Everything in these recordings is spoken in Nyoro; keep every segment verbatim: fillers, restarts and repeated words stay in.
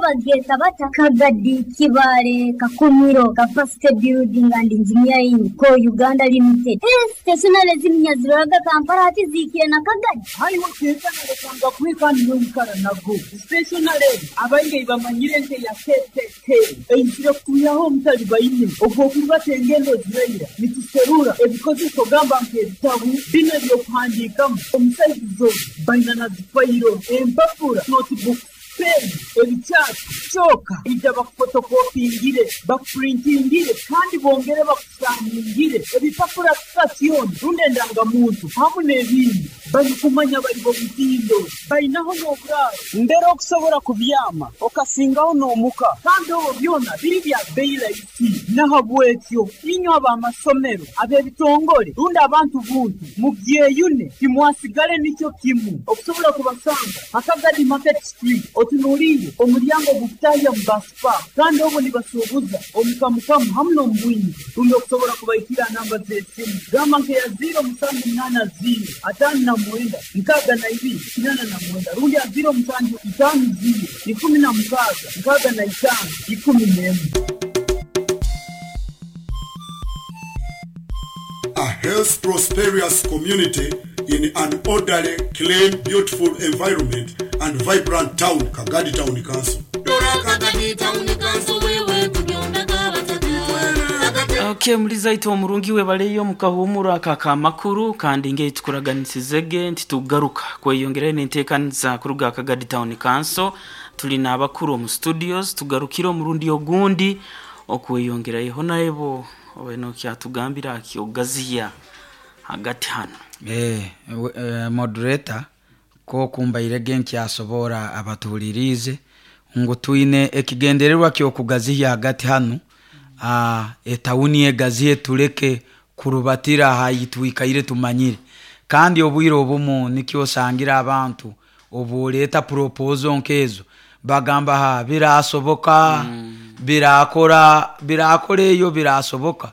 Bageeta bata Kagadi, Kibaale, Kakumiro, Capacity Building and Engineering Co Uganda Limited. Stationery ziminya ziroraga Kampala, hati ziikire na Kagadi. Haiwe ketanalekanga kweka niwe nago stationery abaingi bamanyire nke ya K K K eyizire kutuyaho omutali baine ogwokurubata engendo ziraira nituserura ebikozeso, gamba nk'ebitabu bino ebyokuhandiikamu omusaizi baina na zifayiro, empapura, notebook, pen, ebikyati kyoka ija bakufotokopingire, bakupurintingire kandi bongere bakusaningire ebipapura sitasioni rundi endangamuntu hamu n'ebindi. Balikumanya bali bomutindo, bainaho n'oburaaro mbere okusobola kubyama okasingaho n'omuka, kandi obwo byona biri bya bei rahisi. Nahabwekyo inywe ab'amasomero, ab'ebitongole rundi abantu buntu, mubyeyune, timwasigale nikyo kimu. Okusobola kubasanga Akagadi Market Street, otunuliire omulyango gukutahya mu baspa, kandi obwo nibasuubuza omukamukamu hamu n'omubwingi. Rundi okusobola kubaikira namba z'esimu, gamba nkeya ziro musanju munaana ziro ataano na mwenda nkaaga na ibiri kinaana na mwenda rundi ya ziro musanju itaano ziro ikumi na mukaaga nkaaga na itaano ikumi n'emu. A health prosperous community in an orderly, clean, beautiful environment and vibrant town, Kagadi Town Council. Kagadi Town Council, wewe tubyomeka bataka. Okay, muliza ito omurungi we baleyo mukahumura aka makuru, kandi nge tukuraganisizege nti tugaruka kweyongera n'enteekaniza kuruga Kagadi Town Council. Tulina abakuru omu studios, tugarukire omurundi ogundi okweyongerayo naebo oweno kyatugambira akyogaziya hagati hano. Eh, we- eh, moderator, ko kumbairege nkyasobora abatuhulirize ngu twine ekigendererwa kyokugaziya hagati hanu, ah, etawuni egaziye, tuleke kurubatira hayitwikaire tumanyire. Kandi obwire obumu nikyo osangira abantu obuleeta proposal nkezo bagamba, "Ha, birasoboka mm. Birakora, birakora eyo, birasoboka."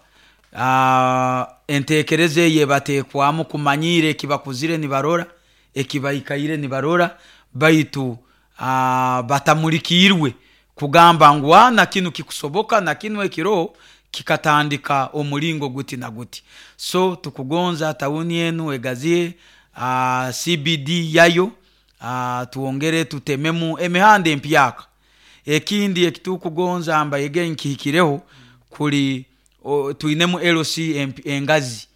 Ah, entekereza eyo ebateekwamu kumanyire ekibakuzire nibarora, ekibaikaire nibarora, baitu ah, batamulikiirwe kugamba ngu "Ah, na kinu kikusoboka, na kinu ekiro kikatandika omulingo guti na guti." So tukugonza tawuni enu egaziye uh, C B D yayo, uh, tuongere tutememu emihanda empyaka. Ekindi ekitukugonza mbayege nkihikireho kuli o, twinemu L C emp- engazi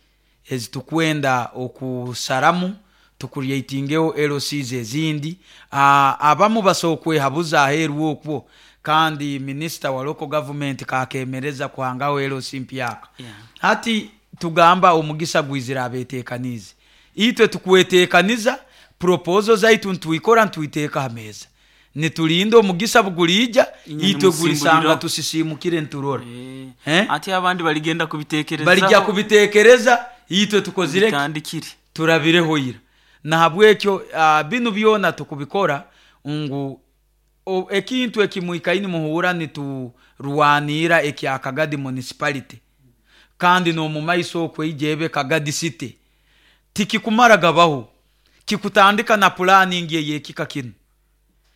ezitukwenda okusaramu, tucreatingeho L Cs ezindi. uh, abamu basobola okwehabuza aheeru okwo, kandi minisita wa local government kakemereza kuhangaho L C mpyaka. Yeah. Hati tugamba omugisa gwizira abetekanize. Itwe tukwetekaniza proposal zaitu, ntwikora ntwiteeka ha meza, nitulinda omugisa bugulija. Inye itwe gulisanga nimusimbulira. Tusisimukire nturora. Eh, Eh? Ati abandi baligenda kubitekereza. Balijja kubitekereza, itwe tukozire ki? Bitandikire. Turabireho ira. Nahabwekyo uh, binu byona tukubikora ngu o- ekintu ekimwikaini muhura niturwanira ekya Kagadi Municipality, kandi n'omumaiso okwo ebe Kagadi City, tikikumara gabaho, kikutandika na planning eyekika kinu.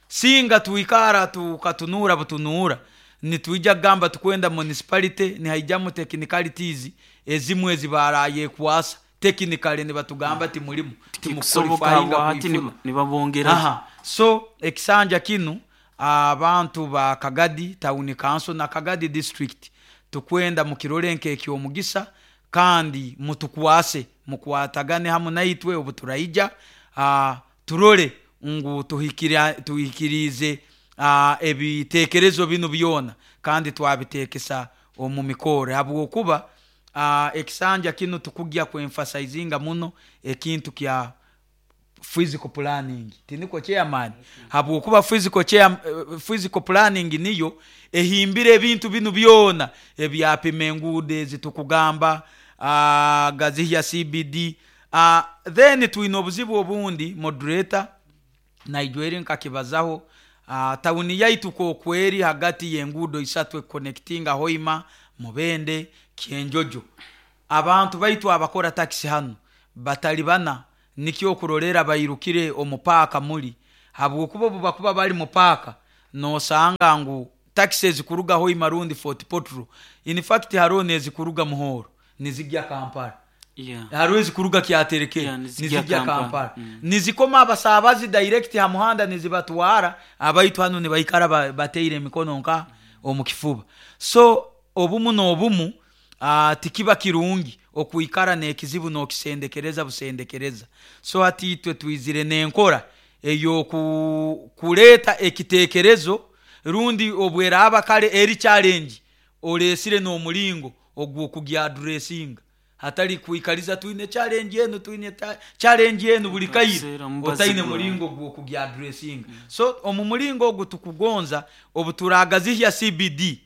Singa tuikara tukatunura butunura nitwija kugamba tukwenda municipality, nihaijamu technicalities ezimwe ezibaraye kwasa technically, nibatugamba timulimu Tikusoboka. timuqualifyinga Hati kuifuna. nibabongera. Aha. So ekisanja kinu abantu ba Kagadi Town Council na Kagadi District tukwenda mukirole nk'ekyomugisa, kandi mutukwase, mukwatagane hamu naitwe obu turaija, uh, turole ngu tuhikira- tuhikirize uh, ebitekerezo binu byona, kandi twabitekesa omu mikoro, habwokuba uh, ekisanja kinu tukugya kuemphasizinga muno ekintu kya physical planning, tiniko chairman? Habwokuba physical chair, eh, physical planning niyo ehimbire ebintu binu byona ebyapima enguudo ezi tukugamba, uh, gazihya C B D. uh, then twine obuzibu obundi, moderator, naijweri nkakibazaho. uh, tawuni yaitu kokweri hagati y'enguudo isatu econnectinga Hoima, Mubende, Kyenjojo. Abantu baitu abakora takisi hano batali bana nikyo okurolera bairukire omupaaka muli, habwokuba obu bakuba bali mupaaka nosanga ngu takisi ezikuruga Hoima rundi Fort Portal, in fact hariho nezikuruga Muhoro nizijya Kampala, Yeah. hariho ezikuruga Kyaterekere Yeah, nizijya nizijya Kampala. Kampala, Mm. nizikoma abasabazi direct ha muhanda nizibatwara. Abaitu hanu nibaikara ba- bateire emikono nka omu kifuba. So obumu n'obumu uh, tikiba kirungi okuikara n'ekizibu n'okisendekereza busendekereza. So hati itwe twizire n'enkora eyokuleeta ekiteekerezo rundi obweraba kale eri challenge olesire n'omulingo ogw'okugiaddressinga, hatali kuikaliza twine challenge enu, twine ta- challenge enu buli kaire Kaseera mubazi otaine gwawe. mulingo gw'okugiaddressinga. So omu mulingo ogu tukugonza obu turagazihya C B D,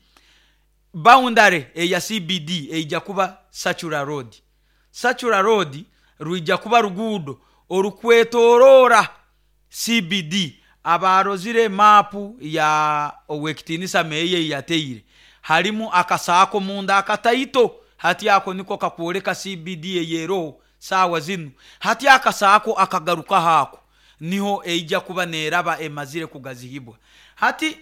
boundary eya C B D eija kuba Circular Road. Circular Road rwija kuba ruguudo orukwetorora C B D. Abarozire mapu ya Owekitinisa Meya yateire, harimu akasaako munda akataito, hati ako niko kakwoleka C B D eyeroho saawa zinu. Hati akasaako akagaruka haako niho eija kuba neraba emazire kugazihibwa. Hati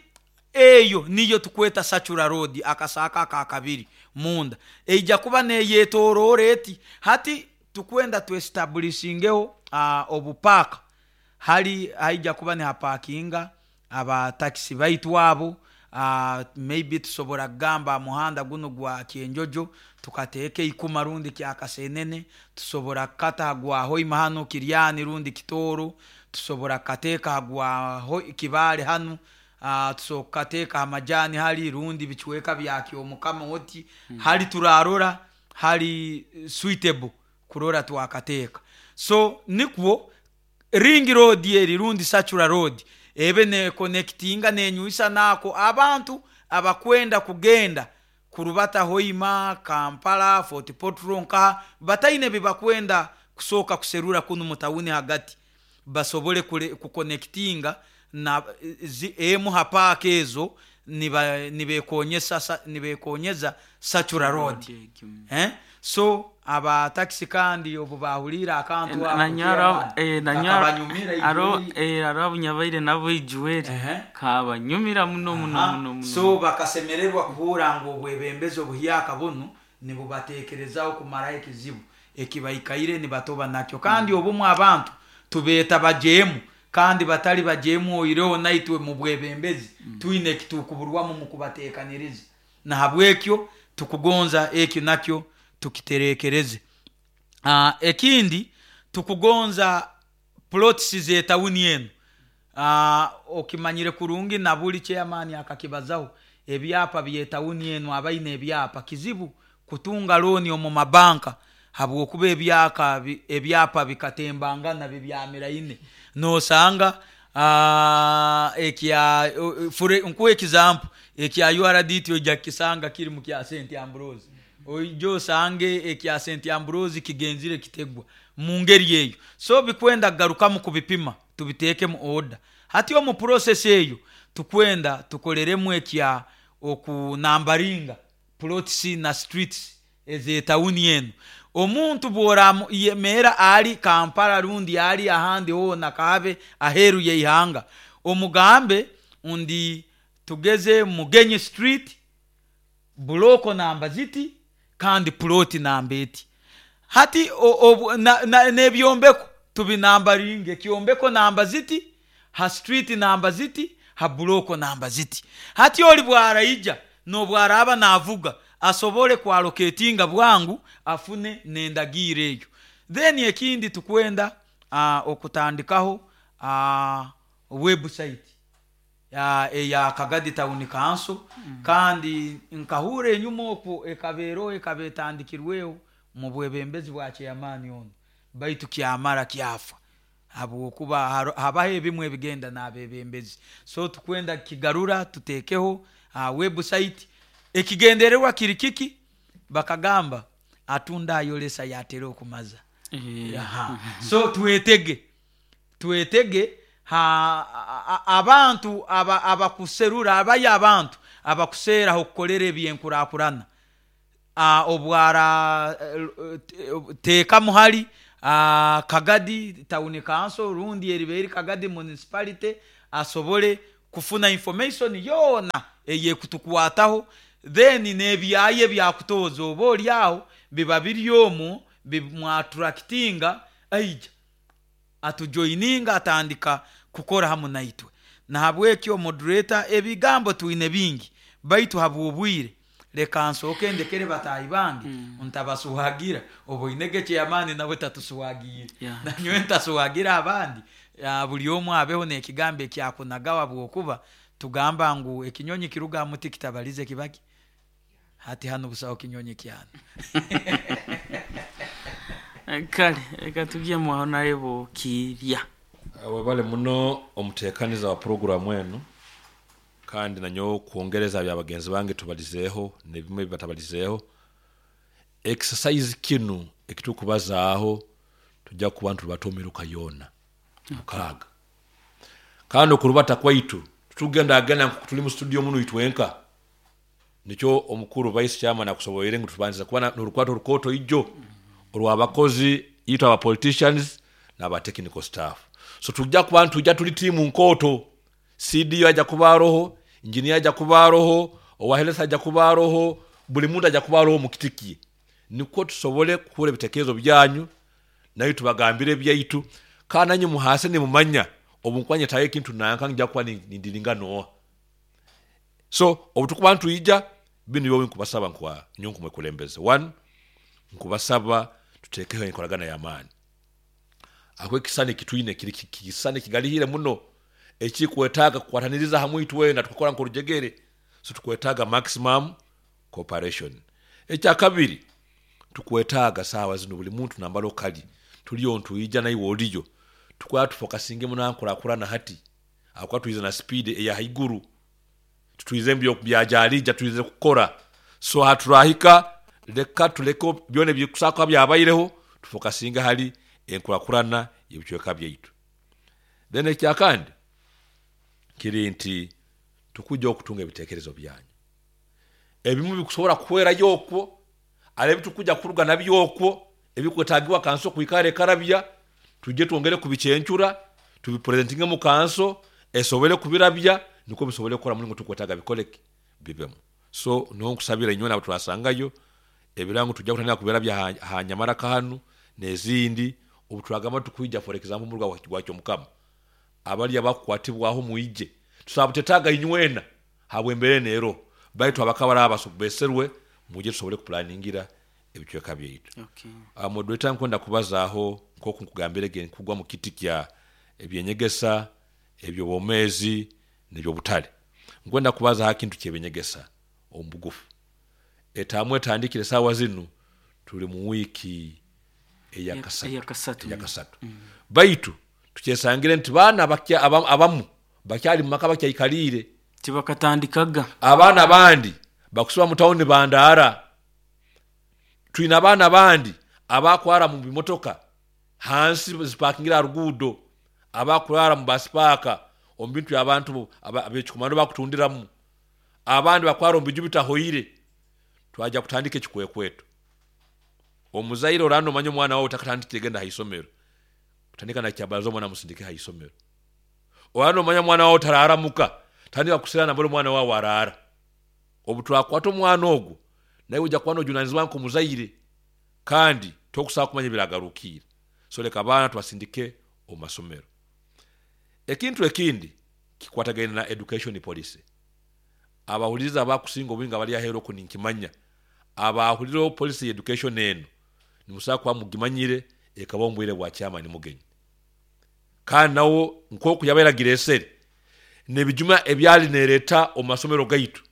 eyo niyo tukweta Circular Road, akasaako aka kabiri munda eija kuba neyetorora eti. Hati tukwenda tuestablishingeho uh, obupaka hali haija kuba ni hapakinga aba taxi baitu abo. Uh, maybe tusobora kugamba muhanda guno gwa Kyenjojo tukateeka ikuma rundi kya Kasenene, tusobora kukata gwa Hoima hano Kiryani rundi Kitoro, tusobora kukateeka gwa Ho-, Kibale hano, uh, tusobora kukateeka amajani hali rundi bichweka bya Kyomukama oti hmm. Hali turarora hali suitable kurora twakateeka. So nikwo ring road eri rundi Circular Road ebe ne connectinga nenyuisa nako abantu abakwenda kugenda kurubata Hoima, Kampala, Fort Portal nka bataine bibakwenda kusoka kuserura kunu mutawuni hagati, basobole kuconnectinga na zi, emu hapaka ezo niba nibekonyesa nibekonyeza Circular Road. Eh? So aba taxi kandi obu bahulira akantu ako nanyara eh nanyara aro eh aro nyabaire nabo ijuweri kabanyumira muno muno muno muno. So bakasemererwa kuhura ngo obwebembezo buhyaka bunu nibubatekerezaho kumara ekizibu ekibaikaire nibatoba nakyo. Kandi mm. obumu abantu tubeta bajemu kandi batali bajemu oireho naitwe mu bwebembezi mm. twine kitukuburwamu mu kubatekaniriza, na habwekyo tukugonza ekyo nakyo tukiterekereze. Uh, ekindi tukugonza plots zetawuni enu. Uh, okimanyire kurungi na buli chairman akakibazaho ebyapa byetawuni enu abaine ebyapa kizibu kutunga loan omu mabanka habwokuba ebyaka ebyapa bikatembangana bibyamiraine. Nosanga uh, ekya for nkuwe example ekya U R D T ojja kisanga kiri mu kya Saint Ambrose, ojo sange ekya Saint Ambrose kigenzire kitegwa mu ngeri eyo. So bikwenda garukamu kubipima tubiteeke mu order. Hati omu process eyo tukwenda tukoleremu ekya okunambaringa plots na streets ezetawuni enu. Omuntu bwora yemera ali Kampala rundi ali ahandi hona kabe aheru yeihanga, omugambe undi tugeze Mugenyi Street bloko namba ziti kandi ploti namba eti. Hati nebyombeko tubinambaringe, kyombeko namba ziti, ha street namba ziti, ha bloko namba ziti. Hati oli bwaraija nobwaraba navuga asobole kwaloketinga bwangu afune nendagire eyo. Then ekindi tukwenda uh, okutandikaho uh, website ya eya Kagadi Town Council. Mm. Kandi nkahure enyuma okwo ekabero ekabetandikirweho mu bwebembezi bwa chairman ono, baitu kyamara kyafa habwokuba habaho ebimwe ebigenda n'abebembezi. So tukwenda kigarura tutekeho uh, website. Ekigendererwa kiri kiki? Bakagamba atunda ayolesa yatera okumaza. Yeah. So tuwetege tuwetege ha a, abantu aba abakuserura abaye abantu abakusera okukolera ebyenkurakurana obwara teka muhali Kagadi Town Council rundi eriberi Kagadi Municipality asobole Kufuna information yoona eyekutukwataho, then n'ebyaye byakutoza oba oli aho biba biri omwo bimwattractinga, aija atujoininga, atandika kukora hamu naitwe. Nahabwekyo moderator, ebigambo twine bingi, baitu habw'obwire leka nsooke ndekere bataahi bange, mm. ntabasuhagira oboinege chairman nawe tatusuhagiire. Yeah. Nanyowe ntasuhagira abandi. Ya, buli omu abeho n'ekigambo ekyakunagawa, bwokuba tugamba ngu ekinyonyi kiruga muti kitabalize kibaki hati hano busaho kinyonyi kyana. Eh, kale reka tugyemu aho narebo kirya. Webale muno omutekaniza wa puroguramu eno, kandi nanyo kwongereza bya bagenzi bange tubalizeeho nebimwe bibatabalizeeho. Exercise kinu ekitukubazaaho tujja kuba ntulubata omiruka yoona mukaaga, kandi okurubata kwaitu tutugenda agenda nku tuli mu studio muno itwenka. Nikyo omukuru vice chairman akusoboire ngu tubanza kuba na- n'orukwato orukoto ijo orw'abakozi itwe aba politicians n'aba technical staff. So tujja kuba ntujja tuli tiimu nkooto. C D O ajja kuba aroho, engineer ajja kuba aroho, owa health ajja kuba aroho, buli muntu ajja kuba aroho mu kiti kye, nikwo tusobole kuhura ebitekerezo byanyu, nayo tubagambire ebyaitu, kandi nanyu muhase nimumanya obu nkwanyetayo ekintu nanka nja kuba ni- nindiringa noa. So obu tukuba ntwija binu byowe nkubasaba nkwa nyo nkumwekulembeze one, nkubasaba tutekeho enkoragana y'amaani aho ekisani kitwine kiri kisani kigalihire muno ekikwetaaga kukwataniriza hamwe itwena tukakora nk'orujegere. So tukwetaaga maximum cooperation. Ekyakabiri, tukwetaaga saawa zino buli muntu nambala okali tuliyo ntwija naiwe oliyo tukwata tufokasinge muno ankurakurana hati akuba twize na speed eya haiguru, tutwize mbyo byajalija twize kukora. So haturahika leka tuleke byona ebikusaka byabaireho, tufokasinge hali enkurakurana y'ebicweka byaitu. Then ekyakandi kiri nti tukujja okutunga ebitekerezo byanyu ebimu bikusobola kuhwerayo okwo ale ebitukuja kuruga nabyo okwo ebikwetagibwa kanso kwikara ekarabya, tujye twongere kubicyencura tubipresentinge mu kanso esobole kubirabya, niko bisobole kukora mulingo tukwetaga bikoleke bibemu. So niho nkusabira inywe nabo turasangayo ebirango tujja kutandika kubirabya ha, ha nyamara kahanu n'ezindi obu turagamba tukwija. For example, muruga gwakyo mukama abali abakukwatibwaho mwije tusaba tutetaga inywena habwembere nero baitu abakabara abasobeserwe muje tusobole kupulaningira ebicweka byaitu. Okay. Uh, moderator, nkwenda kubazaaho nkoku nkugambire ge nkugwa mu kiti kya ebyenyegesa, ebyobwomeezi n'ebyobutale. Nkwenda kubazaho kintu kyebyenyegesa omu bugufu. Etaamu etandikire saawa zinu tuli mu wiiki eyakasatu. Eyakasatu. Eyakasatu, baitu tukyesangire nti baana bakya- aba- abamu bakyali mu maka bakyaikaliire. Tibakatandikaga. Abaana abandi bakusiba mu tawuni bandaara. Twine abaana abandi abakwara mu bimotoka hansi zipakingira ha ruguudo, abakurara mu basipaaka omu bintu abantu abekikomando bakutundiramu, abandi bakwara omu biju bitahoire. Twajja kutandika ekikwekweto. Omuzaire oranda omanye omwana wawe takatandikire genda haisomero, kutandika nakyabalaza omwana musindike haisomero. Oranda omanya omwana wawe tararamuka, tandika kusira nambere omwana wawe arara. Obu twakwata omwana ogwo naye ojja kuba nojunanizibwa nk'omuzaire kandi tokusaba kumanya ebiragarukiire. So leka abaana tubasindike omu masomero. Ekintu ekindi kikwatagaine na education policy. Abahuliriza abakusinga obwingi abali aheeru oku ninkimanya abahuliraho policy ya education eno nimusobola kuba mugimanyire ekaba omu bwire bwa chairman Mugenyi, kandi nawo nkoku yabairagira esere nebijuma ebyali nereta omu masomero gaitu.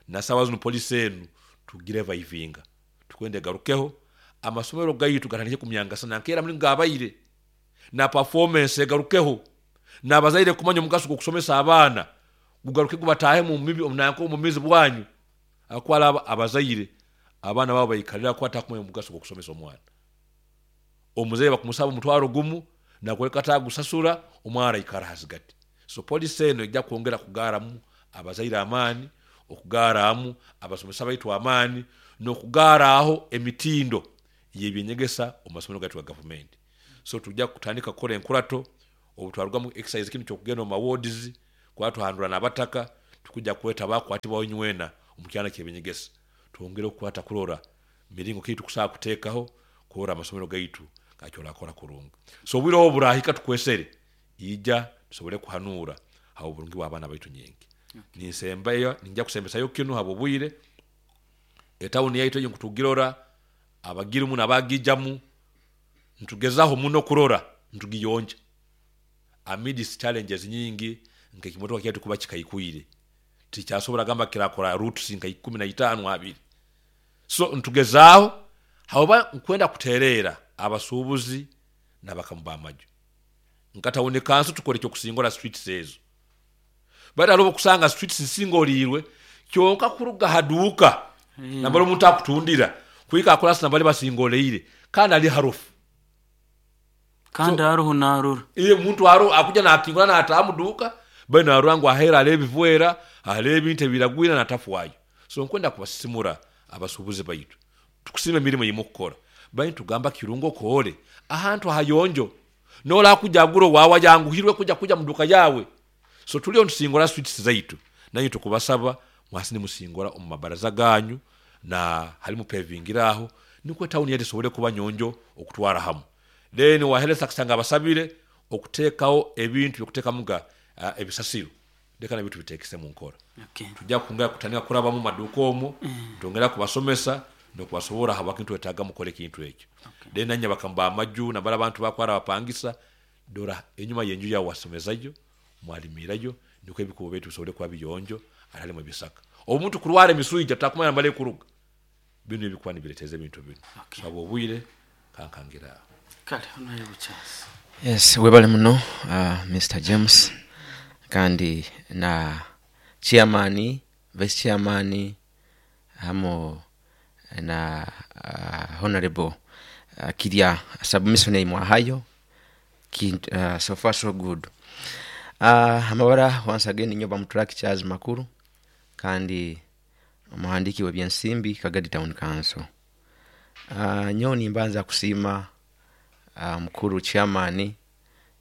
Na sawa zino policy enu tugire vaivinga tukwenda egarukeho, amasomero gaitu gatandike kumyangasana nkeera mulingo gabaire na performance egarukeho, n'abazaire kumanya omugaso gw'okusomesa abaana gugaruke gubatahe mu mibi nanko mu mizi bwanyu akwala aba- abazaire abaana babo baikalira kwata kumanya omugaso gw'okusomesa omwana. Omuzaire bakumusaba omutwaro gumu nakuleka tagusasura, omwana aikara hasigati. So policy eno ejja kwongera kugaaramu abazaire amaani, okugaaramu abasomesa baitu amaani, n'okugaaraho emitindo y'ebyenyegesa omu masomero gaitu ga gavumenti. So tujja kutandika kukora enkurato obu twarugamu exercise kinu kyokugenda omu mawards. Kwatuhandura n'abataka tukujja kweta bakwatibwaho nywena omu kyana ky'ebinyegesa twongere okukwata kurora miringo ki tukusobola kuteekaho kurora amasomero gaitu gakyorakora kurungi. So obwire obu burahika tukwesere ija tusobole kuhanura ha oburungi bw'abaana baitu nyingi. Ninsembayo, ninja kusembesayo kinu habw'obwire. Etawuni yaitu eyo nkutugirora abagirimu n'abagijamu ntugezaho muno kurora ntugiyonja amidst challenges nyingi, nk'ekimotoka kyaitu kuba kikaikwire tikyasobora gamba kirakora routes nka ikumi na itaano abiri. So ntugezaaho haoba nkwenda kutereera abasuubuzi n'abakamu b'amaju nka town council tukora ekyokusingora streets ezo, bati hariho okusanga streets zisingoriirwe kyonka kuruga haduuka nambali omuntu akutundira kuhika akurasi nambali basingoleire kandi ali harufu. Kandi haruho narora. Iye muntu haro akuja nakingura nataaha muduuka bai narora ngu ahera hariho ebivwera, hariho ebintu ebiragwira natafwayo. So nkwenda kubasisimura abasuubuzi baitu, tukusiima emirimu eyimukukora, baitu tugamba kirungi okore ahantu hayonjo nola kuja agura wawa yanguhirwe kuja kuja muduka yawe. So tuliyo ntusingora streets zaitu, nanyu tukubasaba mwasi nimusingora omu mabaraza ganyu na halimu pavingiraho nikwo town yetu esobole kuba nyonjo okutwara hamu. Then wahereza kusanga abasabire okuteekawo ebintu byokutekamuga uh, ebisasiro leka nabyo tubitekese mu nkora. Okay. Tujja kungera kutandika kurabamu maduuka omwo, twongera kubasomesa nokubasobora habwaki ntwetaaga mukore ekintu ekyo. Okay. Then nanye bakamba amaju nabara abantu bakwara bapangisa dora enyuma y'enju yawe wasomezayo mwalimirayo nikwo ebikubo baitu bisobole kuba biyonjo atalimu ebisaka. Omuntu kurwara emisuija takumanya mbale kuruga bino ebikuba nibireteza ebintu bino. Okay. So obwire kankangira aho. Kale honorable Charles. Yes, webale muno uh, Mister James kandi na chairman, vice chairman hamo na uh, honorable uh, Kirya submission imwahayo ki, uh, so far so good. Uh, amabara once again nyoba mutraki Charles Makuru kandi omuhandiki w'ebyensimbi Kagadi Town Council. Uh, nyoni mbanza kusiima uh, mukuru chairman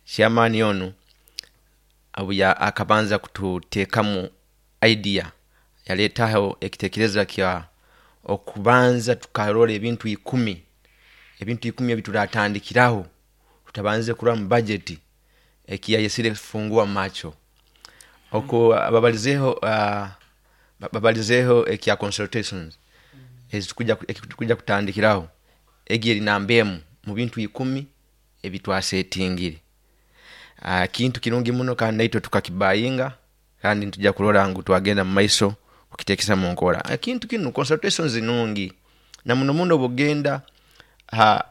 chairman onu abuya akabanza kututeekamu idea yaletaho ekitekerezo kya okubanza tukarora ebintu ikumi, ebintu ikumi ebituratandikiraho tutabanze kurora mu budget ekiyayesire fungua macho oko babalizeho uh, babalizeho ekya consultations ezitukuja ekitukuja kutandikiraho egi namba emu mu bintu ikumi ebitwasetingire. Uh, kintu kirungi muno kandi naitwe tukakibayinga kandi ntujja kurora ngu twagenda mu maiso kukitekesa mu nkora. Ekintu kinu consultations nungi na muno muno bugenda ha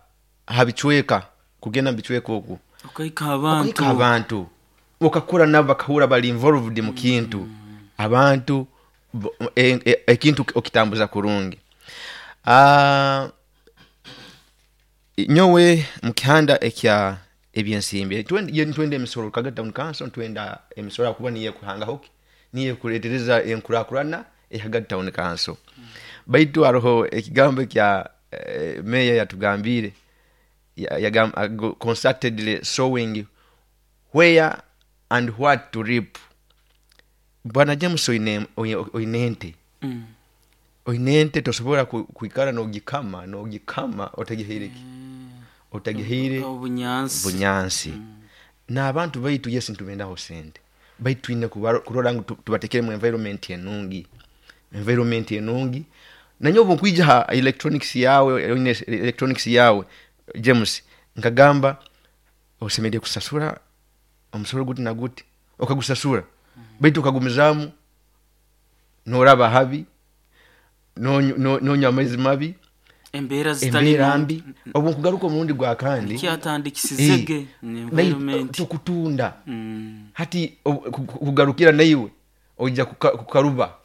habichweka kugenda bichweka oku okaika abantu okaika abantu okakura nabo bakahura bali involved mu kintu mm. Abantu ekintu e, e, okitambuza kurungi. Ah uh, nyowe mukihanda ekya ebyensimbi twende twende emisoro Kagadi Town Council twenda emisoro kuba niye kuhanga hoki niye kuletereza enkurakurana e Kagadi Town Council. Mm. Baitu aroho ekigambo kya eh, meya yatugambire yagam ya, concertedly sowing where and what to reap. Bwana James oine oinente mm. oinente tosobora kuikara nogikama nogikama otagihiriki mm. otagihire obunyansi bunyansi mm. Na abantu baitu yes ntubendaho sente baitu ine kurora ngu tubatekere mu environment enungi environment enungi nanyo obunkwija ha electronics yawe electronics yawe James nkagamba osemede kusasura omusoro guti na guti okagusasura mm. Baitu okagumizamu noraba habi no no no nyamaizi mabi embera zitali mbi obu nkugaruka omurundi gwa kandi kyatandikisizege environment tukutunda mm. Hati kugarukira naiwe ojja kukaruba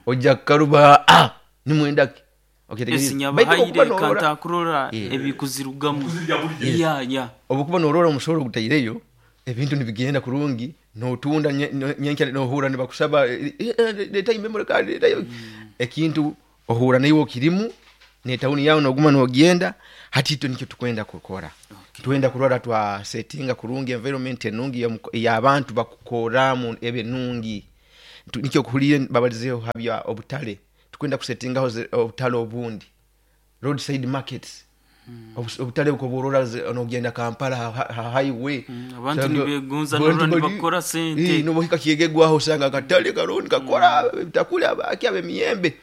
ojja kukaruba ah nimwendaki esinyabahaire kantakurora ebikuzirugamu ya ya obukuba norora omusoro gutaireyo ebintu nibigenda kurungi notunda nyenka nohura nibakusaba leta memory card leta ekintu ohura naiwe kirimu ne town yawe noguma nogenda hati ito nikyo tukwenda kukora. Twenda kurora twa settinga kurungi environment enungi y'abantu bakukoramu ebinungi. Nikyo kuhulire babalizeho habya obutale, tukwenda kusettingaho obutale obundi, roadside markets. Mm. Obutale bukoborora onogenda Kampala ha highway. Mm. Abantu nibegunza norora nibakora sente. Eh, nobohika kiegegwaho osanga akatale karundi kakora bitakula abaki abemiyembe.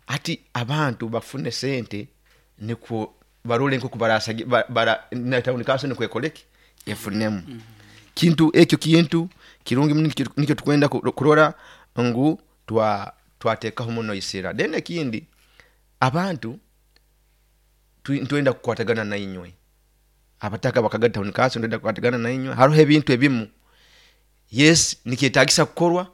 Ati abantu bafune sente niko barole nko kubarasa bara na town council niko ekoleki efunemu. Mm. Kintu ekyo kintu kirungi nikyo tukwenda kurora ngu twa twatekaho muno isira. Then ekindi abantu twenda kukwatagana na inywe abataka bakagata town council, twenda kukwatagana na inywe. Hariho ebintu ebimu yes nikyetagisa kukorwa,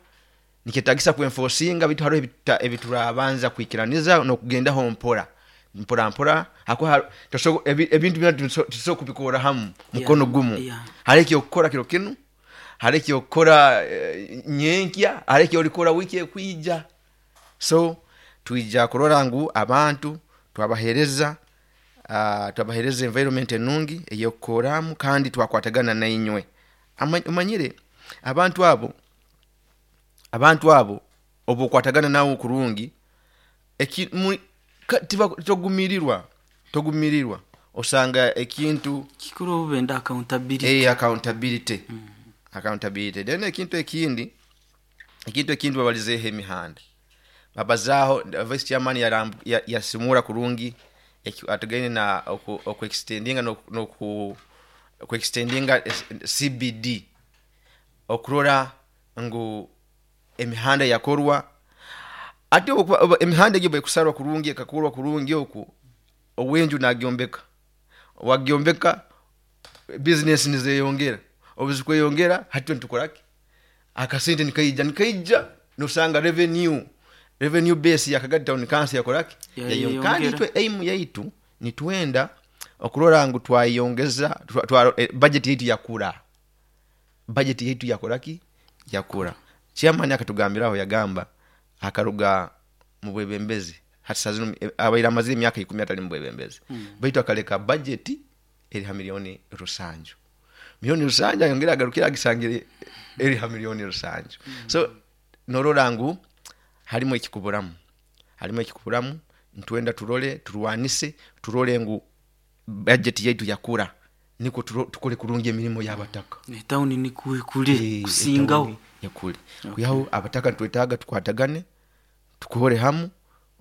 nikyetagisa kuenforcinga bitu, hariho ebiturabanza kwikiraniza no kugendaho mpora mpora mpora. Hako toso ebintu bina tuso kubikora hamu mukono gumu. Yeah. Hari ekyo kukora kiro kinu, hari ekyo kukora e, nyenkya, hari ekyo olikora wiki ekwija. So tuija kurora ngu abantu twabahereza Uh, twabahereza environment enungi eyokukoramu kandi twakwatagana na inywe. Umanyire abantu abo abantu abo obukwatagana nawo kurungi eki togumirirwa togumirirwa osanga ekintu kikuru benda accountability. Eh, accountability. Mm. Accountability. Then ekintu ekindi ekintu ekindi babalizeho emihanda. Babazaho vice chairman yasimura ya kurungi atugene na oku extendinga no no ku extendinga C B D okurora ngu emihanda yakorwa. Ate emihanda gibe kusarwa kurungi ekakorwa kurungi oku owenju nagyombeka wagyombeka business nizeyongera obuzikweyongera hati ntukoraki akasente nikaija nikaija nosanga revenue revenue base ya Kagadi Town Council yakoraki yayo. Kandi twe aim yaitu ni twenda okurora ngu twayongeza twa, eh, budget yetu yakura budget yetu yakoraki yakura. Chairman akatugambiraho yagamba akaruga mu bwebembezi hati sazino abaira amazire emyaka ikumi atali mu bwebembezi. Mm. Baitu akaleka budget eri ha milioni rusanju milioni rusanju ayongera agarukira agisangire eri ha milioni rusanju. Mm. So norora ngu harimo ekikuburamu harimo ekikuburamu ntwenda turole turwanise turole ngu budget yetu yakura niko tukole kurungi emirimo y'abataka. Ne town ni kule kusingaho yakule. Kuyaho abataka twetaga tukwatagane tukuhore hamu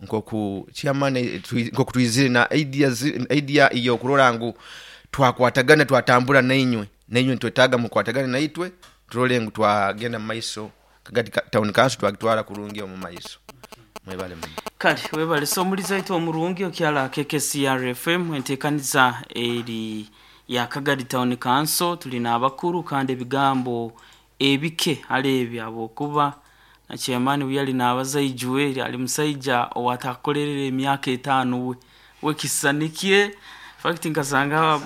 nkoku chairman nkoku tuizire na ideas idea iyo kurora ngu twakwatagana twatambura na inywe na inywe twetaga mukwatagane na itwe turole ngu twagenda mu maiso Kagadi Town Council twagitwara kurungi omu maiso. Mwebale muno. Kale webale so muliza itu omurungi okyala K K C R F M entekaniza eri ya Kagadi Town Council. Tulina abakuru kandi ebigambo ebike alebi abokuba na chairman uyali nabaza ijuwe ali musaija owatakolerera emyaka etaano we wekisanikie fact nkasanga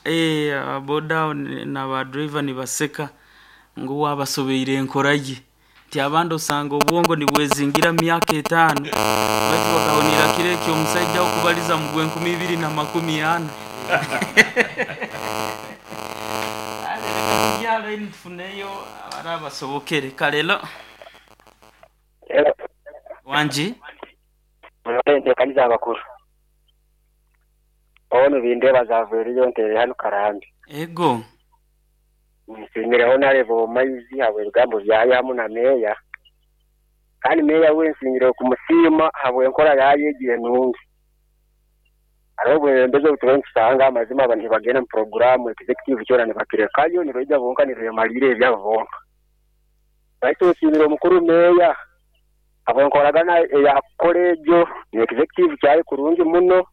eh boda na ba driver ni baseka ngo wabasobeire enkoraye nti abandi osanga obwongo nibwezingira myaka etaano bati bakahonera kire ekyo omusajja okubaliza mu gwenkumi ibiri na makumi ana. Ale reka tujyale ntufuneyo abarabasobokere kalelo wanji murende kanyiza abakuru ono bindeba zavuriyo ntere hano Karambi. Ego nsingireho narebo maizi habwe rugambo byaye hamu na meya kandi meya we nsingire kumusima habwe enkora yayegiye nungi arobwe mbezo butuwe nsanga amazima abantu bagenda mu program executive cyora nibakirekayo nibeja bonka nibemalire ebyabo baitu nsimire omukuru meya habwe nkoragana ya kolejo ni executive cyaye kurungi muno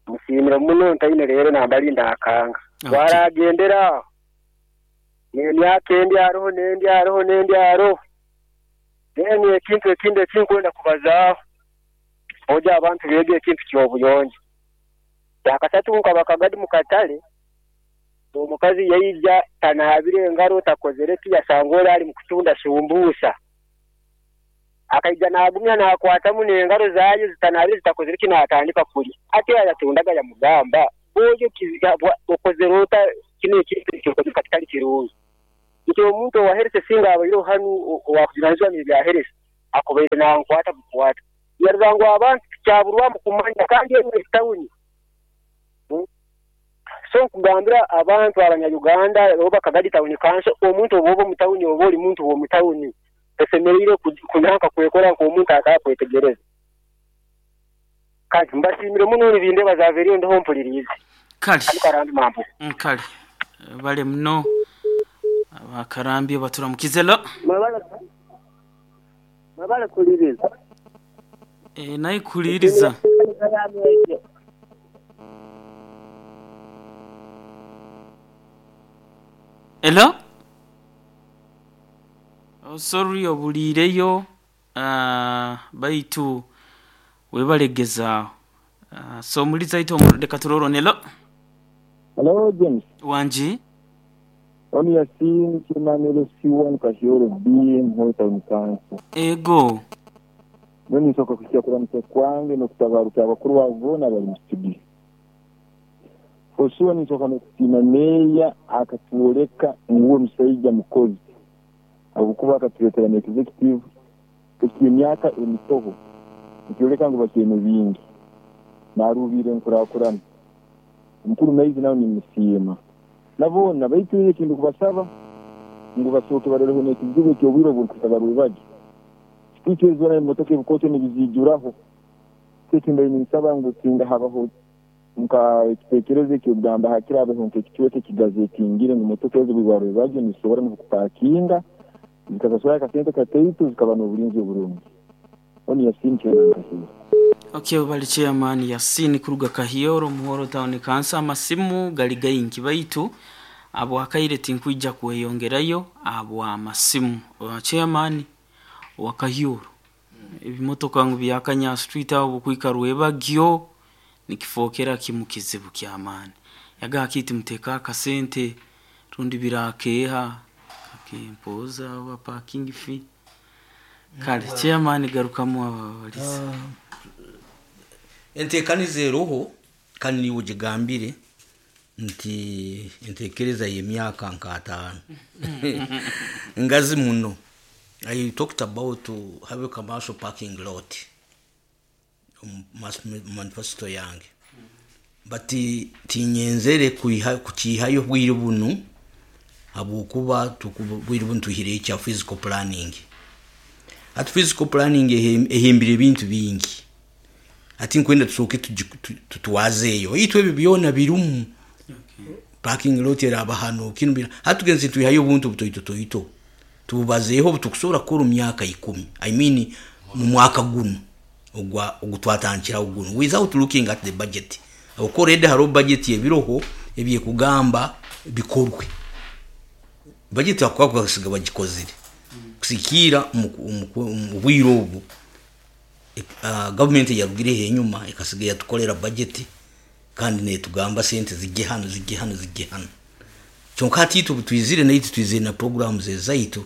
musimire muno ntaine rero nambalinda akanga. Okay. Waragendera nemyaka endi aroho nendi aroho nendi aroho then ekintu ekindi ekinkwenda kubazaaho oja abantu bege ekintu ky'obuyonjo. Yakasatu nkaba Kagadi mukatale omukazi yaija tanaabire engaro takozere ki yasanga ali mukutunda shumbusa akaija nagumya nakwatamu n'engaro zayo zitanabire zitakozere ki natandika kulya ate yatundaga yamugamba Oyo okozere ota kino ekintu kitali kirungi. Nti omuntu owaherese singa abaire hanu owakujunanizibwa n'ebyaherese akubaire nankwata bukwata. Yarora ngu abantu kyaburwamu kumanya kandi eno etawuni. So nkugambira abantu abanya-Uganda oba Kagadi Town Council, omuntu oba omu tawuni oba oli muntu w'omu tawuni esemereire kunanka kwekora nk'omuntu atakwetegereza. Kandi mbasiimire muno nibindeeba zaaveriyo ndiho mpuliriize. Kale. Karambi mambo. Kale. Bale muno abakarambi baturamukize lo. Mwebale kuliriza. Eh nayi kuliriza. Hello? Oh, sorry obulireyo uh, baitu webalegeza. Uh, so muliza ito leka turoro nelo. Hello James. Wanji. Oni yasin chimanelo C one Kahyoro B Muhoro Town Council. Ego. Noni nsooka kusiya kuramutsa kwange n'okutabaruka abakuru babo boona bari mu studio. Osuwa ninsooka n'okusiima meeya akatworeka ngu omushaija mukozi ahabw'okuba akatureetera n'executive eky'emyaka emitoho nikyoreka ngu bakiine bingi naruubire enkurakurana. Omukuru Maizi nawe nimusiima naboona baitu ekintu kubasaba ngu basooke baroreho n'ekizibu eky'obwire oburikusa barubagi kitwikyo zoona emotoka ebikooto nibizijuraho. Ekindi ninsaba ngu singa habaho nka ekiteekerezo eky'okugamba hakirabeho nk'ekicweka ekigazetingire ngu motoka ezo bwarubagi nizisobora n'okupakinga zikasasura akasente kataitu zikaba n'obulinzi oburungi. Oni Yasin Chairman Kahyoro. Okay, bali Chairman Yasin kuruga Kahyoro Muhoro Town Council. Amasimu gali gaingi baitu abo akaire tinkwija kweyongerayo abo amasimu. Chairman wa Kahyoro ebimotoka ngu byakanya street abo kwika rwebagyo nikifokera kimu kizibu ky'amaani. Yaga kiti muteka akasente rundi birakeha kakempoza wa parking fee. Kale chairman garukamu abalisa. Uh, enteekaniza eroho kandi niwe ogigambire nti enteekereza y'emyaka nk'ataano ngazi muno. I talked about have a commercial parking lot manifesto yange, but tinyenzere kukihayo bwire bunu habwokuba bwire bunu tuhire ekya physical planning. At physical planning ehimbire ebintu bingi ati nkwenda tusooke tutwazeeyo itwe ebyo byona birumu. Okay. Parking lot eraba hano kinu bira hatugenze tuyihayo obuntu butoito toito tububazeeho butukusobola kukora myaka ikumi, I mean mu mwaka guno ogwa ogutwatandikiraho guno without looking at the budget. Already hariho budget ebiroho ebyekugamba bikorwe. Budget akuba kusiga bagikozire kusikiira mu bwire obu uh, government yarugireho enyuma ekasiga yatukolera budget kandi netugamba sente zijje hano zijje hano zijje hano. Kyonka hati itwe twizire naitu twizire na programs ezaitu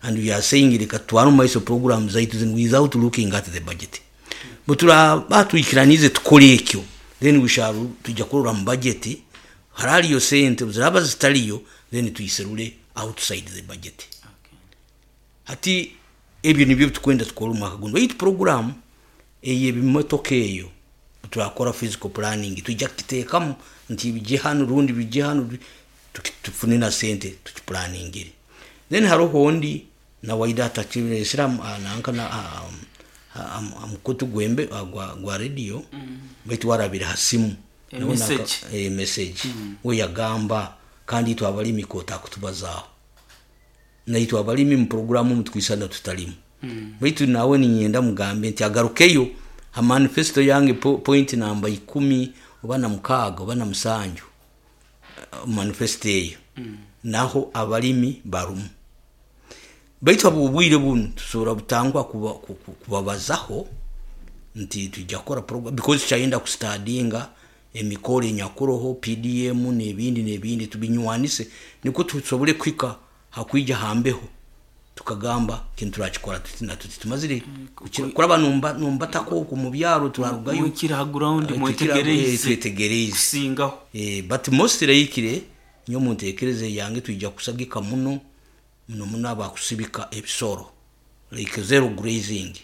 and we are saying reka tware mu maiso programs zaitu zinu without looking at the budget. Butura batwikiranize tukore ekyo then we shall tujja kurora mu budget haraliyo sente ziraba zitaliyo then tuyiserule outside the budget. Okay. Hati ebyo nibyo tukwenda tukora omwaka guno. Baitu program ey'ebimotoka eyo turakora physical planning tujja kukiteekamu nti bijje hano rundi bijje hano tufune na sente tukiplaningire. Then hariho ondi na waida atakiresera nanka na amukutu gwembe gwa, gwa radio mm. Baitu warabira hasimu e message, e message. Mm. We yagamba kandi itwe abalimi kota kutubazaaho naitwe abalimi mu programu mutwisana tutalimu. Mm. Baitu nawe ninyenda mugambe nti agarukeyo ha manifesto yange po, point namba ikumi oba na mukaaga oba na musanju manifesto eyo. Mm. Naho abalimi barumu baitu abo obwire bunu tusobola butangwa kubabazaho nti tujja kukora program because kyayenda kustadinga emikoro enyakuroho P D M n'ebindi n'ebindi tubinywanise niko tusobole kwika hakwija hambeho Tukagamba kintu turakikora tuti na tuti tumazire kukira- kuraba numba numbatako oku mu byaro turarugayo. Mwikire ha ground, Eh, mwetegereze. tukira- eh, twetegereze kusingaho. Eh, but mostly ikire nyo muntekereze yange tuija kusagika muno muno muno abakusibika ebisoro like zero grazing,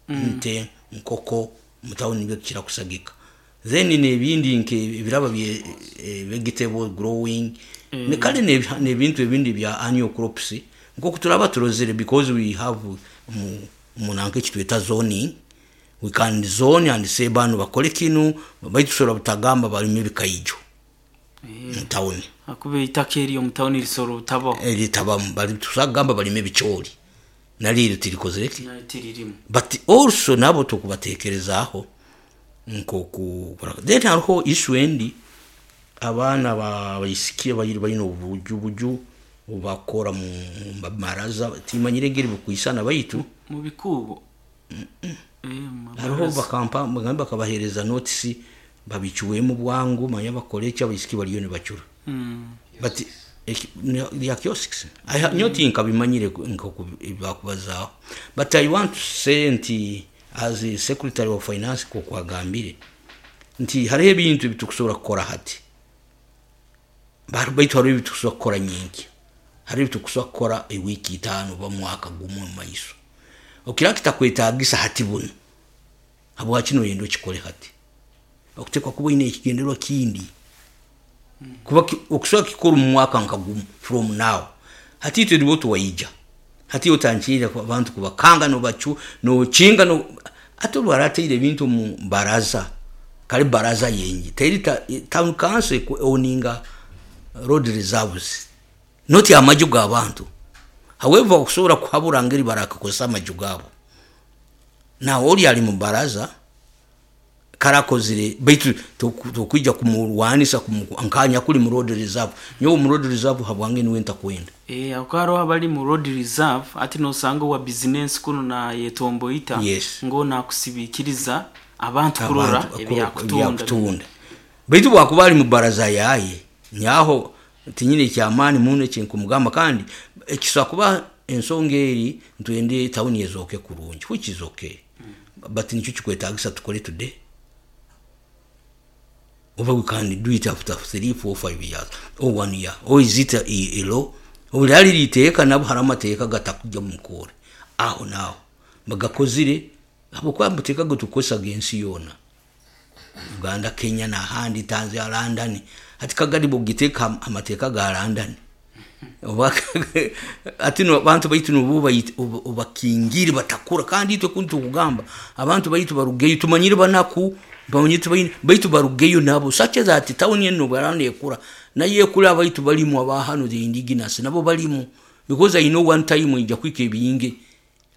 Mm. nte, nkoko mutawuni nibyo tukira kusagika. Then nebindi nke ebiraba bye eh, vegetable growing, Mm. ne kale ne- nebintu ebindi bya annual crops nkoku turaba turozere, because we have mu munanke kitweta zoning. We can zone and say bano bakole kinu, baitu tusobola butagamba balime ebikaijo mu tawuni. Akuba eitaka eryo mu tawuni risobola obutabaho. Eritabamu bali tusagamba balime ebicoori naliro tirikozereki. Nayo tiririmu. But also nabo tukubatekerezaaho nkoku. Then hariho issue endi, abaana ba- baisiki abairi balina obujubuju obakora mu mu maraza, timanyire engeri bukwisana baitu. Mu bikuubo. Eh, mu Hariho mabaraza. bakampa bagambe bakabahereza notisi babicuwemu bwangu, manya bakore eki, abaisiki bariyo nibacura. Mm. But eki- ne- ya kiosks I ha- nyo tinkabimanyire nkoku bakubazaaho, but I want to say nti as a secretary of finance kokwagambire nti hariho ebintu ebitukusobola kukora hati. Ba- baitu hariho ebitukusobola kukora nyingi, hariho ebitukusobola kukora ewiiki itaano oba mwaka gumwe mu maiso. Okira kitakwetagisa hati buno, habwaki noyenda okikole hati? Okutekwa kuba oyine ekigendererwa kindi kuba ki- okusobola kikora omu mwaka nka gumu from now. Hati itwe nibo tuwaija hati otankiire abantu kubakanga nobacu nokinga no ate olwarateire ebintu mu baraza kale baraza yengi teri ta, town council eku- owninga road reserves, not amaju g'abantu. However, okusobola kuhabura ngeri barakakozesa amaju gaabo nawe oli ali mu baraza karakozire, baitu toku- tokwija kumurwanisa kumu- nkanya kuli mu road reserve, nyowe mu road reserve habwange niwe ntakwenda. Eh, ako hariho abali mu road reserve ati nosanga owa bizinesi kuno na yetomboita Yes. ngo nakusibikiriza abantu kurora Abantu- ebyakutunda. ebyakutunda, baitu bwakuba ali mu baraza yaye nyaho tinyine kyamaani muno ekinkumugamba. Kandi ekisobola kuba ensonga eri ntwende tawuni ezooke kurungi, which is okay, but nikyo kikwetagisa tukole today oba we can do it after three four five years or one year, or is it a, a, a law? Obulyali liteeka nabo hari amateeka gatakujja mu mukoore aho naaho bagakozire, habwokuba amateeka getukozesaga ensi yoona, Uganda, Kenya nahandi, Tanzania, London. Hati Kagadi bwogiteeka am- amateeka ga London oba ati no abantu baitu nobu obakingire batakura. Kandi itwe kuntu tukugamba abantu baitu barugeyo, tumanyire banaku bamanyire tubaine baitu barugeyo nabo such that town eno barana ekura naye ekura abaitu balimu abahano, the indigenous nabo balimu, because I know one time ija kwika ebiyinge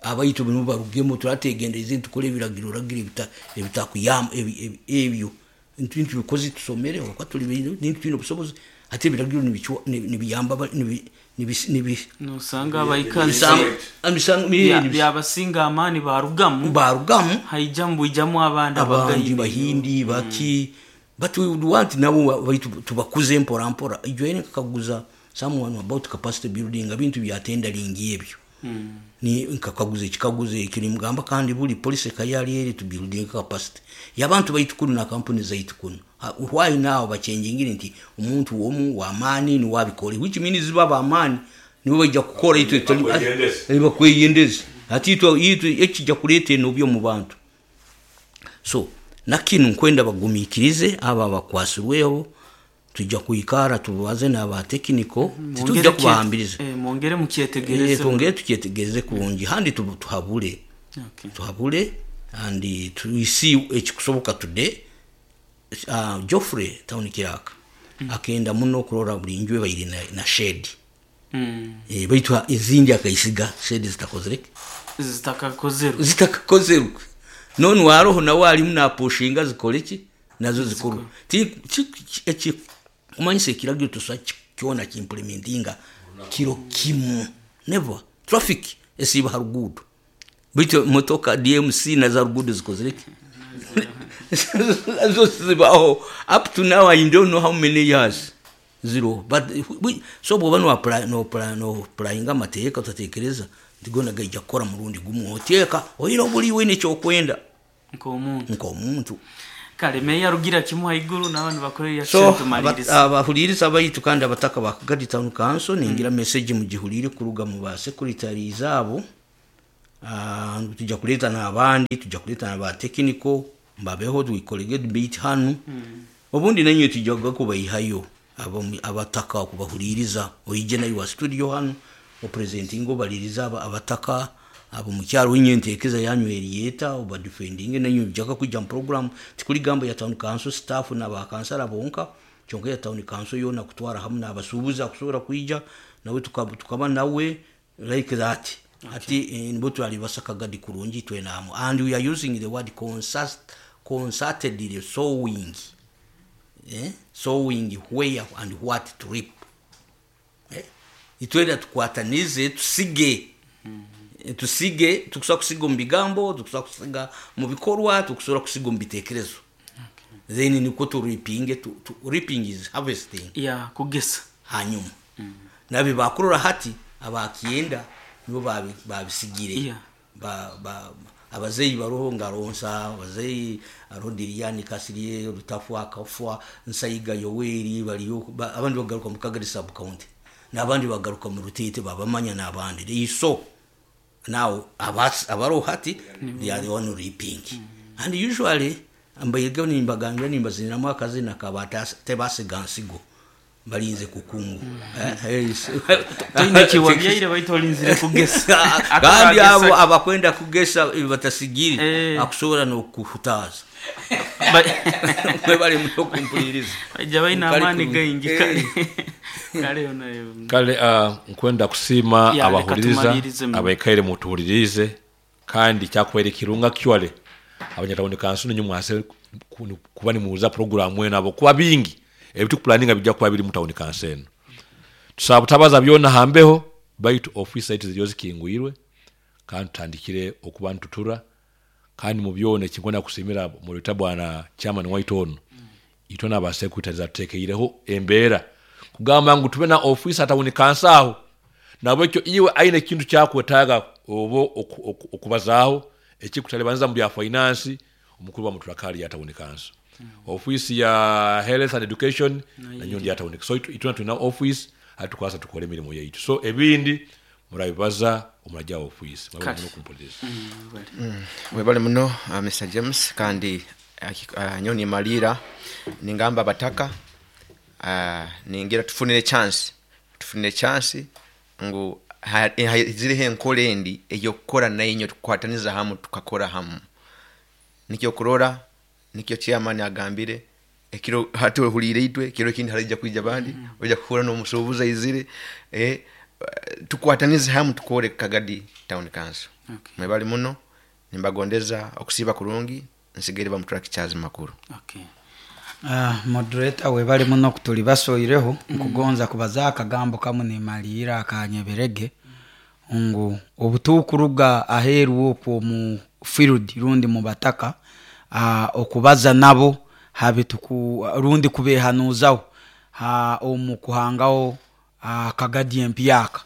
abaitu bino barugemo turategendereza ntukore ebiragiro ragira ebita ebitakuyamba ebi- ebi- ebyo ntu ntu bikoze tusomere kwa tuli bintu twine obusobozi ate ebiragiro nibichwa- nibiyamba ba- nibi nibi nibi nosanga abaikazi Nisanga- amisanga- bya- nibi- byabasinga amaani barugamu barugamu haijamu bwijamu abandi abandi abagayi bahindi baki. But we would want nabo baitu tubakuze mpora mpora. Ijo nkakaguza someone about capacity building, ebintu bya tendering ebyo ni nkakaguza ekikaguzo ekyo nimugamba kandi buli policy kayali eri to building capacity yabantu baitu kuno na kampuni zaitu kuno. Ha- why now bachenjingire nti omuntu womu wamaani niwabikole, which means baba amaani nibo baija kukora itwe tuli- Bakweyendeze. Eh, bakweyendeze ati itwe itwe ekijja kuleeta enobyo mu bantu. So nakinu nkwenda bagumiikirize abo abakwasirweho, tujja kwikara tubaze n'abatekiniko, titujja kubahambiriza. Mwongere Eh, mukyetegereze. twongere tukyetegereze kurungi handi tu- tuhabule Okay. tuhabule and tuisi ekikusoboka today. uh, Joffrey town kiraka mm. akenda muno kurora buli nju ebaire na, na shed. Mm. Eh, baitu ezindi akaisiga shed zitakozereke. Zitakakozerwe. Zitakakozerwe none waroho nawe alimu napushinga zikoleki nazo zikorwe. Ti- ti- eki kumanyisa ekiragiro tusa kyona kimplementinga kiro kimu never. Traffic esiba harugudo, baitu motoka D M C na za rugudo zikozereke nazo zibaho up to now. I don't know how many years zero, but we, so bwoba no apply no apply no applyinga amateeka utatekereza Ntigona gaija kukora murundi gumu oteeka oine obuli wine ekyokwenda nk'omuntu nk'omuntu. Kale meya rugira kimu haiguru n'abantu bakorera So reaction tumaliriza. Abahuliriza abaitu kandi abataka ba Kagadi Town Council, ningira message mugihulire kuruga mu ba secretaries abo. Ah, tujja kuleeta n'abandi, tujja kuleeta n'aba technical mbabeho tuikolege debate hanu. Obundi nanywe tujja kubayihayo abo- abataka kubahuliriza, oije nayo wa studio hanu opresenting obaliriza aba- abataka abo mukyalo winye enteekeza yanyu eriyeta oba defending nanyu jaka kujja mu program. Tikuli gamba ya town council staff n'abakansala bonka kyonka ya town council yona kutwara hamu n'abasuubuzi akusobola kwija nawe tukaba, tukaba nawe like that. Okay. Ati eh, nibo twali basakagadi kurungi twenamu, and we are using the word consult, concertedly sowing, eh? Sowing where and what to reap, eh? Itwenda tukwatanize tusige. Eh, tusige tukusobola kusiga omu bigambo, tukusobola kusiga mu bikorwa, tukusobola kusiga omu bitekerezo. Then niko turipinge tu, tu, reaping is harvesting. Ya, kugesa. Hanyuma nabi bakurora hati abakyenda nibo babi- babisigire. Yeah. Ba, ba, abazeyi baroho ngaronsa abazeyi arodiriyani kasiriye rutafu akafwa Nsayiga Yoweri baliyo ba, abandi bagaruka mu Kagari sub county n'abandi bagaruka mu Rutete babamanya n'abandi. They so now abas abaroho hati they are the one reaping. And usually mbayiga nimbagambira nimbaziniramu akazina kabata tebasiga nsigo balinze kukungu. Eh, eh, Toine kiwabyaire baitu olinzire kugesa. Kandi abo Akagesa- abakwenda kugesa eh, batasigire Eh. akusobola n'okuhutaaza. Ba- Mwebale muno kumpuliriza. Bajja balina Kale amaani ku- gaingi. Eh. Kale kale ona- Kale uh, nkwenda kusiima Ya, leka abahuliriza tumalirize mu. abaikaire mutuhulirize kandi kyakubaire kirunga kyole abanyatawuni kansu ninyu mwase ku- kuba nimuuza programu eno abo kuba bingi ebitukupulaninga bijja kuba biri mu tawuni kansu eno. Tusaba butabaza byona hambeho baitu ofisi zaitu ziriyo zikingwirwe kandi tutandikire okuba ntutura kandi mu byona ekinkwenda kusimira muleta bwana chairman waitu ono itwe n'abasekretary atuteekeireho embeera kugamba ngu tube na ofisi atawuni kansu aho nabwekyo iwe aine ekintu kyakwetaaga oba oku- oku- okubazaaho ekikutalibanza mu bya finance omukuru wa muturakali ya tawuni kansu, ofisi ya health and education nanyo ndi ya tawuni. So itu- itwe tulina office atukwasa tukole emirimu yaitu, so ebindi murabibaza omurajja wa ofisi. Kale. Mwebale muno kumpuliriza. Webale muno uh, Mister James kandi uh, nyo nimalira ningamba abataka uh, ningira tufunire chance tufunire chance ngu ha- ha- ziriho enkola endi eyokukora nainyo tukukwataniza hamu tukakora hamu. Nikyo kurora nikyo chairman agambire ekiro hati ohulire itwe ekiro ekindi haraija kwija bandi oja kuhura n'omusuubuzi aizire eh, tukwatanize hamu tukore Kagadi Town Council. Okay. Mwebale muno nimbagondeza okusiiba kurungi nsigaire bamuturakicyazi makuru. Okay. Ah, moderator webale muno kutuli basoireho. Nkugonza kubaza akagambo kamu nimalira akanyeberege ngu obutukuruga aheeru okwo mu field rundi mu bataka, ah, okubaza nabo habe tuku rundi kubehanuzaho ha omu kuhangaho ah, Kagadi empyaka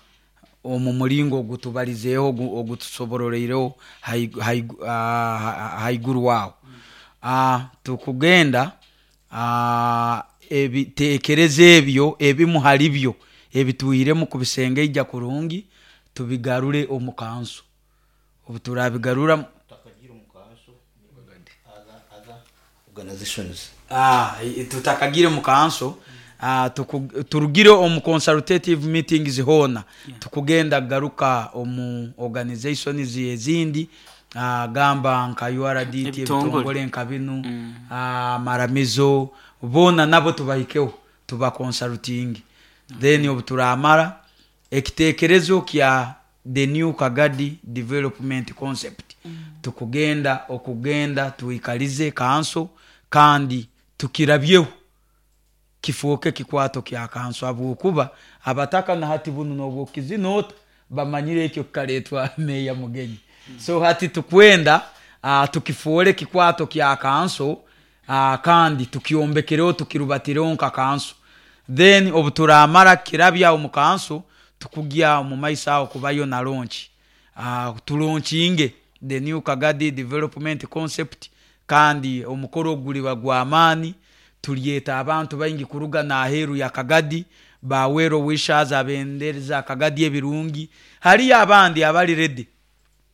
omu mulingo ogutubalizeeho ogu- ogutusobororeireho haigu- haigu- ah, ha- haiguru wawo. Ah, tukugenda ah, ebitekerezo ebyo ebimu hali byo ebituiremu kubisengeija kurungi tubigarure omu kanso obu turabigarura Organizations. Ah, i- tutakagire mu kanso, ah, tuku- turugire omu consultative meetings hoona tukugenda garuka omu organizations ezindi, ah, gamba nka U R D T, Ebitongole. ebitongole nka binu, ah, maramizo boona nabo tubahikeho tuba consulting. Then obu turamara ekitekerezo kya the new Kagadi development concept, tukugenda okugenda tuikalize kanso kandi tukirabyeho kifuuke kikwato kya kanso habwokuba abataka na hati bunu nobwokizinota bamanyire ekyo kikaletwa meya Mugenyi. So hati tukwenda uh, tukifuule kikwato kya kanso, uh, kandi tukyombekereho tukirubatireho nka kanso. Then obu turamara kirabya omu kanso tukugya omu maiso aho kubayo na launch. uh, tulaunchinge the new Kagadi development concept. Kandi omukoro guliba gw'amaani, tulyeta abantu baingi kuruga n'aheeru ya Kagadi, ba well wishers abendereza Kagadi ebirungi. Hariyo abandi abali ready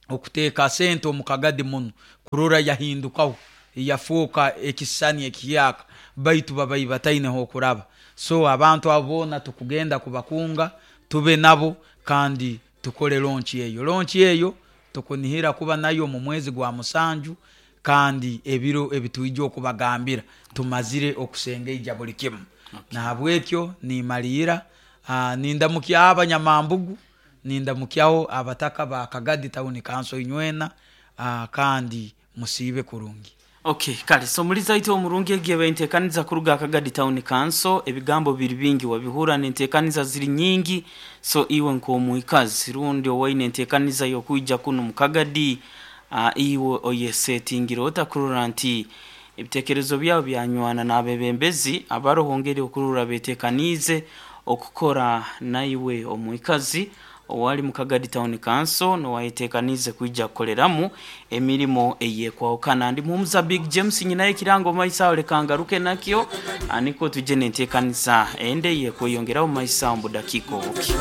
okuteeka sente omu Kagadi muno kurora yahindukaho yafuuka ekisisani ekiyaka, baitu babai bataineho okuraba. So abantu abo boona tukugenda kubakunga, tube nabo kandi tukole launch eyo. Launch eyo tukunihira kuba nayo mu mwezi gwa musanju, kandi ebiro ebitwija okubagambira tumazire okusengeija buli kimu. Nahabwekyo nimaliira, uh, nindamukyaho abanyamambugu, nindamukyaho abataka ba Kagadi Town Council inywena, uh, kandi musiibe kurungi. Okay, kale so muliza ite omurungi egiye bentekaniza kuruga Kagadi Town Council. Ebigambo biri bingi wabihura nentekaniza ziri nyingi. So iwe nk'omuikazi rundi owaine entekaniza yokuija kuno mu Kagadi, uh, iwe oyesetingire otakurora nti ebitekerezo byabo byanywana n'abebembezi abarohongere okurura betekanize okukora naiwe omuikazi owali mu Kagadi Town Council nowayetekanize kuija kukoleramu emirimo eyekwawukana. Ndi muhumuza Big James nyina ekirango maisa olekangaruke nakyo aniko tuje nentekaniza ende yekweyongeraho maisa mu dakika obuki.